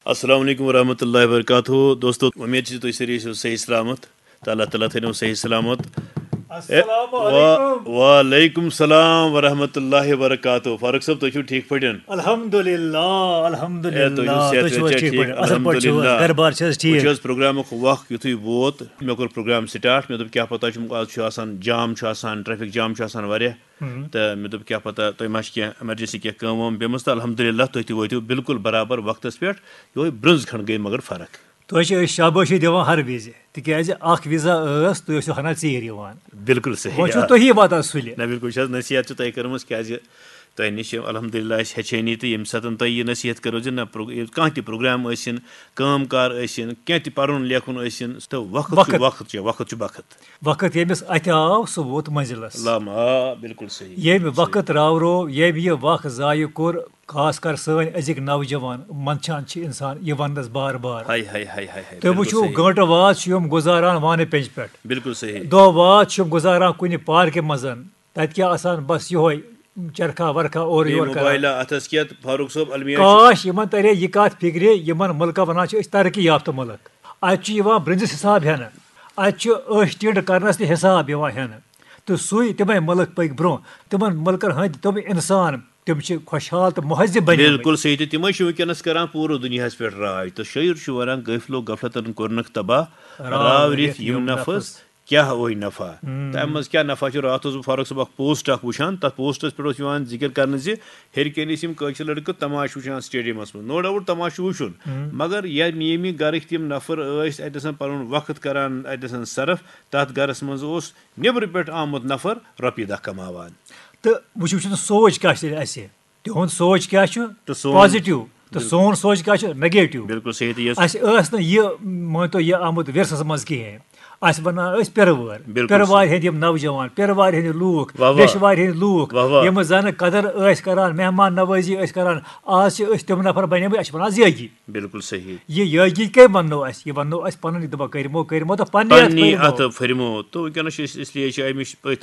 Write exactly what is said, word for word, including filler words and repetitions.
السلام علیکم ورحمۃ اللہ وبرکاتہ۔ دوستو، امید چھِ تُہۍ سٲری ٲسِو صحیح سلامت۔ تہٕ اللہ تعالیٰ تھٲینو صحیح سلامت۔ اے، السلام وا- علیکم۔ وعلیکم السلام ورحمۃ اللہ وبرکاتہ۔ فاروق صٲب، تُہۍ چھِو ٹھیٖک پٲٹھۍ؟ الحمدُللہ، الحمدُللہ۔ اے، تُہۍ چھِو صحت تُہۍ چھِو وحت حظ ٹھیٖک؟ ٹھیٖک پٲٹھۍ؟ اَصٕل پٲٹھۍ چھِو حظ؟ الحمدُللہ۔ گَرٕ بار چھِ حظ ٹھیٖک؟ وٕچھ حظ، پروگرامُک وق یُتھُے ووت، مےٚ کوٚر پروگرام سٹارٹ۔ مےٚ دوٚپ، کیٛاہ پتہ چھُم، آز چھُ آسان جام، چھُ آسان ٹریفک جام، چھُ آسان واریاہ۔ تہٕ مےٚ دوٚپ، کیٛاہ پتہ تۄہہِ ما چھِ کینٛہہ ایمرجنسی، کینٛہہ کٲم وٲم پیٚمٕژ۔ تہٕ الحمدُللہ، تُہۍ تہِ وٲتِو بالکل برابر وقتس پٮ۪ٹھ۔ یِہوٚے برٛونٛز کھنٛڈ گٔے مگر فرق۔ تۄہہِ چھِ أسۍ شابٲشی دِوان ہر وِزِ، تِکیٛازِ اکھ وِزا ٲس، تُہۍ ٲسِو ہنا ژیٖرۍ یِوان۔ بالکل صحیح۔ وۄنۍ چھُو آ۔ تُہی واتان سُلہِ۔ نہ، بالکل چھِ حظ نصیحت چھِ تۄہہِ کٔرمٕژ، کیٛازِ تۄہہِ نِش چھِ الحمدللہ اَسہِ ہیٚچھٲنی، تہٕ ییٚمہِ ساتہٕ تۄہہِ یہِ نصیحت کٔرٕو زِ نہ، پرو-، یہِ کانٛہہ تہِ پروگرام ٲسِن، کٲم کار ٲسِن، کینٛہہ تہِ پَرُن لیکھُن ٲسِن، تہٕ وقت چھُ، وقت۔ وقت چھُ، وقت چھُ بخت۔ وقت ییٚمِس اَتھِ آو، سُہ ووت منزلس۔ لام، آ، بالکل صحیح۔ ییٚمۍ وقت راورو، ییٚمۍ یہِ وق ضایع کوٚر، خاص کر سٲنۍ أزِکۍ نوجوان، منٛدچھان چھِ انسان یہِ وننس بار بار۔ ہاے، ہاے، ہاے، ہاے، ہاے، تُہۍ بالکل وٕچھِو، صحیح۔ گٲنٹہٕ واد چھِ یِم گُزاران وانہٕ پٮ۪نٛجہِ پٮ۪ٹھ۔ بالکل صحیح۔ دۄہ واد چھِ یِم گُزاران کُنہِ پارکہِ منٛز۔ تَتہِ کیٛاہ آسان، بس یِہوے چرکھا ورکھا اورٕ بیٚیہِ یورٕ کران۔ موبایلہ اَتھس کٮ۪تھ، فاروق صٲب، المیہ چھُ۔ کاش یِمن ترے یہِ کَتھ فِکرِ، یِمن مُلکن ونان چھِ أسۍ ترقی یافتہٕ مُلک۔ اَتہِ چھُ یِوان برٛنٛزِس حساب ہٮ۪نہٕ۔ اَتہِ چھُ أچھ ٹِنٛڈ کرنس تہِ حساب یِوان ہٮ۪نہٕ۔ تہٕ سُے تِمے مُلک پٔکۍ برٛونٛہہ۔ تِمن مُلکن ہٕنٛدۍ تِم انسان، تِم چھِ خۄشحال تہٕ مہذب بنیمٕتۍ۔ بالکل صحیح۔ تہٕ تِمے چھِ وٕنکیٚنس کران پوٗرٕ دُنیاہس پٮ۪ٹھ راج۔ تہٕ شٲعر چھُ ونان، غٲفلو غفلتن کوٚرنکھ تباہ، راو رِتھ یِم نفس، کیٛاہ اوے نفع؟ تہٕ اَمہِ منٛز کیٛاہ نفع چھُ؟ راتھ اوسُس بہٕ فاروق صٲب اکھ پوسٹ اکھ وٕچھان، تَتھ پوسٹس پٮ۪ٹھ اوس یِوان ذِکر کرنہٕ زِ ہیٚرِ کَنہِ ٲسۍ یِم کٲشِر لٔڑکہٕ تماشہٕ وٕچھان سٹیڈیمس منٛز۔ نو ڈاوُٹ تماشہٕ وٕچھُن، مگر ییٚمہِ، ییٚمہِ گرٕکۍ تِم نفر ٲسۍ اَتہِ آسان پنُن وقت کران، اَتہِ آسان صرف، تَتھ گرس منٛز اوس نیٚبرٕ پٮ۪ٹھ آمُت نفر رۄپیہِ دہ کماوان۔ تہٕ وٕچھِو، وٕچھِو تہٕ سونٛچ کیٛاہ چھِ اَسہِ؟ تِہُنٛد سونٛچ کیٛاہ چھُ؟ تہٕ سون پازِٹِو۔ تہٕ سون سونٛچ کیٛاہ چھُ؟ نیگیٹِو۔ بالکل صحیح۔ تہٕ یۄس اَسہِ ٲس نہٕ یہِ، مٲنۍ تو، یہِ آمُت ورثس منٛز کِہیٖنۍ۔ اَسہِ بَناو أسۍ پِرٕ وٲرۍ۔ بالکل پِرٕ صحیح۔ وارِ ہٕنٛدۍ یِم نوجوان، پِرٕ وارِ ہٕنٛدۍ لوٗکھ، واہ واہ۔ ویٚشہِ وارِ ہٕنٛدۍ لوٗکھ، واہ واہ۔ یِم زَنہٕ قدر ٲسۍ کران، مہمان نوٲزی ٲسۍ کران، آز چھِ أسۍ تِم نفر بَنیمٕتۍ، اَسہِ چھِ وَنان زیگی۔ بالکل صحیح۔ یہِ یٲگی کٔمۍ وَننو اَسہِ؟ یہِ وَننو اَسہِ پَنٕنۍ، دَپان کٔرمو، کٔرمو تہٕ پَننہِ اَتھٕ پننی پھٔرمو۔ اَتھٕ پھٔرمو۔ تہٕ وٕنکیٚنَس چھِ أسۍ، اس لیے چھِ اَمِچ أتھۍ